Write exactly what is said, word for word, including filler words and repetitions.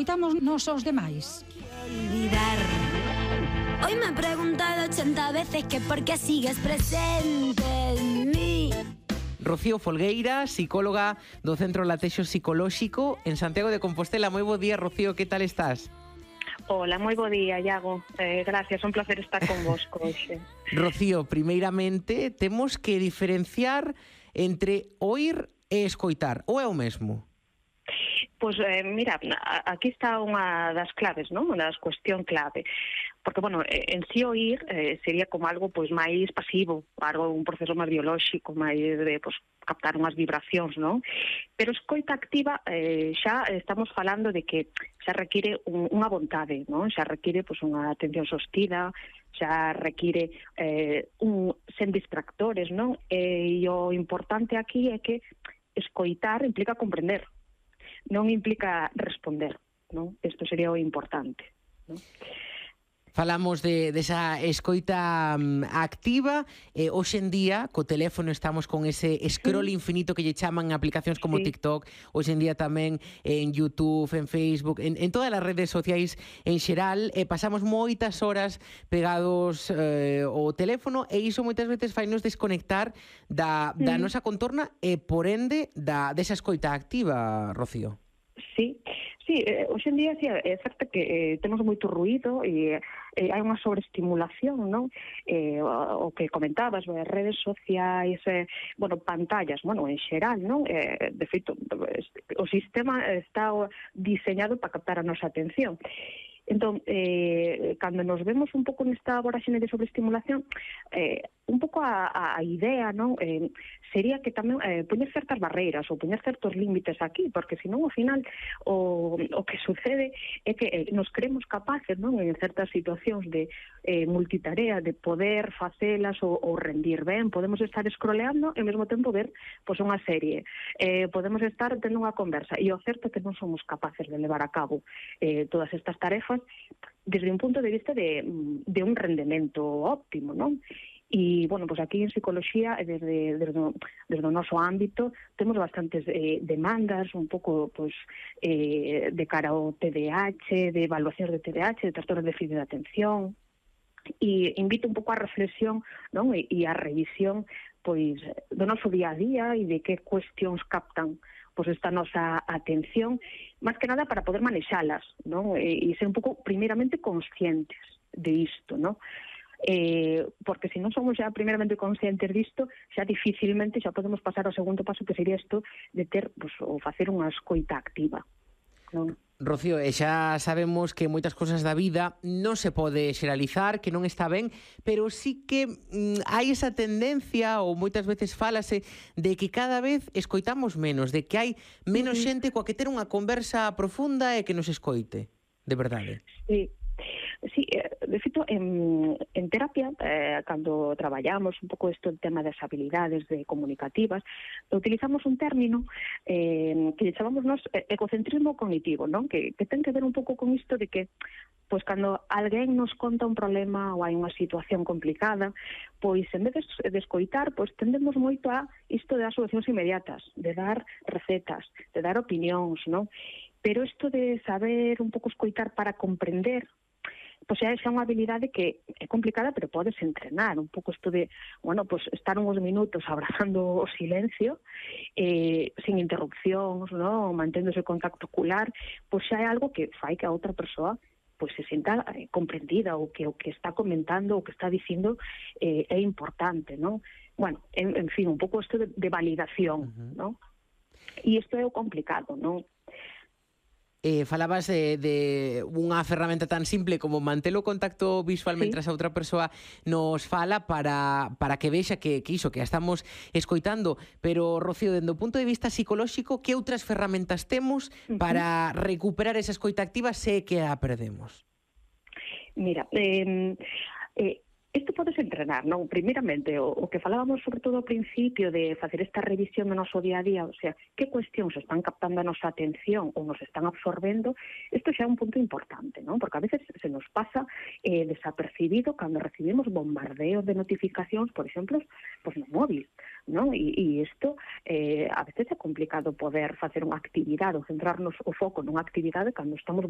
escoitamos nos os demais. Hoy me he preguntado ochenta veces que por qué sigues presente en mí. Rocío Folgueira, psicóloga do Centro Latexo Psicolóxico en Santiago de Compostela. Moi bo día, Rocío, que tal estás? Hola, moi bo día, Iago. Eh, gracias, un placer estar con vos hoxe. Rocío, primeiramente, temos que diferenciar entre oír e escoitar, ou é o mesmo? Pois, eh, mira, aquí está unha das claves, non? Unha das cuestión clave. Porque, bueno, en si oír eh, sería como algo pois máis pasivo, algo un proceso máis biolóxico, máis de pois, captar unhas vibracións, non? Pero escoita activa eh, xa estamos falando de que xa require un, unha vontade, non? Xa require pois, unha atención sostida, xa require eh, un, sen distractores, non? E, e o importante aquí é que escoitar implica comprender, non implica responder, non? Isto sería o importante, non? Falamos de, desa escoita um, activa, eh, hoxe en día, co teléfono estamos con ese scroll sí. infinito que lle chaman aplicacións como sí. TikTok, hoxe en día tamén en YouTube, en Facebook, en, en todas as redes sociais en xeral, eh, pasamos moitas horas pegados eh, ao teléfono e iso moitas veces fainos desconectar da, da mm. nosa contorna e, por ende, da, desa escoita activa, Rocío. Sí, sí, eh, hoxe en día sí, é certo que eh, temos moito ruído e eh, hai unha sobreestimulación, non? Eh, o, o que comentabas, as redes sociais, eh, bueno, pantallas, bueno, en xeral, non? Eh, de feito, o sistema está diseñado para captar a nosa atención. Entón, eh, cando nos vemos un pouco nesta voraxene de sobreestimulación, eh, un pouco a, a idea, non? Eh, sería que tamén eh, poñer certas barreiras ou poñer certos límites aquí, porque senón ao final o, o que sucede é que eh, nos creemos capaces, non? En certas situacións de eh, multitarea, de poder facelas ou, ou rendir ben, podemos estar scrolleando e ao mesmo tempo ver pois, unha serie, eh, podemos estar tendo unha conversa, e o certo é que non somos capaces de levar a cabo eh, todas estas tarefas desde un punto de vista de, de un rendemento óptimo, non? E, bueno, pues aquí en psicoloxía, desde, desde, desde o noso ámbito, temos bastantes eh, demandas, un pouco, pues, eh, de cara ao T D A H, de evaluacións de T D A H, de trastornos de déficit de atención, e invito un pouco a reflexión, non? E, e a revisión, pois, do noso día a día e de que cuestións captan pois esta nosa atención, máis que nada para poder manexalas, non? E, e ser un pouco, primeiramente, conscientes de isto, non? Eh, porque se non somos xa primeiramente conscientes disto, xa dificilmente xa podemos pasar ao segundo paso, que sería isto de ter, pues, ou facer unha escoita activa, non? Rocío, e xa sabemos que moitas cousas da vida non se pode xeralizar, que non está ben, pero sí que mm, hai esa tendencia, ou moitas veces fálase, de que cada vez escoitamos menos, de que hai menos uh-huh. xente coa que ter unha conversa profunda e que nos escoite, de verdade. Sí. Sí, de feito, en, en terapia, eh, cando traballamos un pouco isto, el tema das habilidades de comunicativas, utilizamos un término eh, que chamamos nos ecocentrismo cognitivo, non? Que, que ten que ver un pouco con isto de que pois cando alguén nos conta un problema ou hai unha situación complicada, pois en vez de escoitar, pois tendemos moito a isto de dar solucións inmediatas, de dar recetas, de dar opinións, non? Pero isto de saber un pouco escoitar para comprender, pois é xa unha habilidade que é complicada, pero podes entrenar un pouco isto de, bueno, pois estar uns minutos abrazando o silencio, eh, sin interrupcións, no? Manténdose o contacto ocular, pois xa é algo que fai que a outra persoa pois se sinta eh, comprendida, ou que o que está comentando, o que está dicindo eh, é importante, non? Bueno, en, en fin, un pouco isto de, de validación, uh-huh. non? E isto é o complicado, non? Eh, falabas de, de unha ferramenta tan simple como manter o contacto visual sí. mentras a outra persoa nos fala para, para que vexa que, que iso, que a estamos escoitando. Pero, Rocío, dende o punto de vista psicolóxico, que outras ferramentas temos uh-huh. para recuperar esa escoita activa se que a perdemos? Mira, eh, eh, isto podes entrenar, non? Primeiramente, o, o que falábamos sobre todo ao principio de facer esta revisión do noso día a día, o sea, que cuestións están captando a nosa atención ou nos están absorbendo, isto xa é un punto importante, non? Porque a veces se nos pasa eh, desapercibido cando recibimos bombardeos de notificacións, por exemplo, pues no móvil, non? E, e isto eh, a veces é complicado poder facer unha actividade ou centrarnos o foco nunha actividade cando estamos